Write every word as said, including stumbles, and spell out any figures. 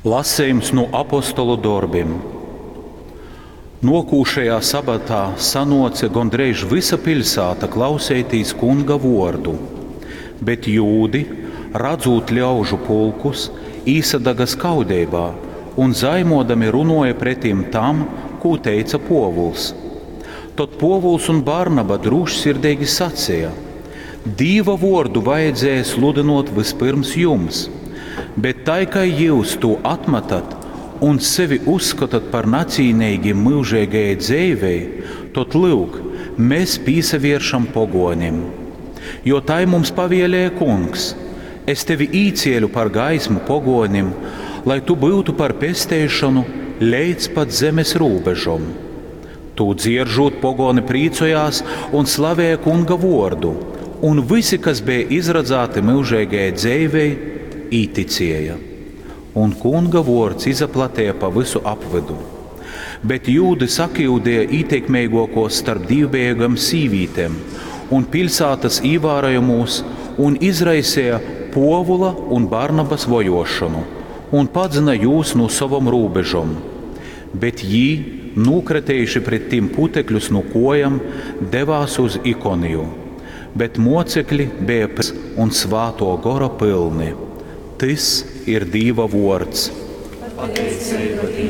Lasejums nu apostolu dorbim. Nuokūšajā sabatā sanuoce gondreiž vysa piļsāta klauseitīs Kunga vuordu, bet jūdi, radzūt ļaužu pulkus, īsadaga skaudeibā un zaimuodami runuoja pretim tam, kū teica Puovuls. Tod Puovuls un Barnaba drūšsirdeigi saceja: Dīva vuordu vajadzēja sludynuot vyspyrms jums, bet tai kai jyus tū atmatat un sevi uzskotat par nacīneigim myužeigajai dzeivei, tod lyuk, mēs pīsavieršam poguonim. Jo tai mums pavielēja Kungs: Es tevi īcieļu par gaismu poguonim, lai tu byutu par pesteišonu leidz pat zemes rūbežom. Tū dzieržūt, pogoni prīcojās un slavēja Kunga vuordu, un visi, kas bija izradzāti myužeigajai dzeivei, īticēja. Un Kunga vuords izaplateja pa vysu apvydu. Bet jūdi sakiudeja ītekmeiguokos starp dīvbejeigom sīvītem un piļsātas īvārojamūs un izraiseja Puovula un Barnabas vojuošonu un padzyna jūs nu sovom rūbežom. Bet jī, nūkratejuši pret tim putekļus nu kuojam, devās uz Ikoniju. Bet mocekli beja un Svātuo Gora pylni. Tys ir Dīva vuords. Pateiceiba.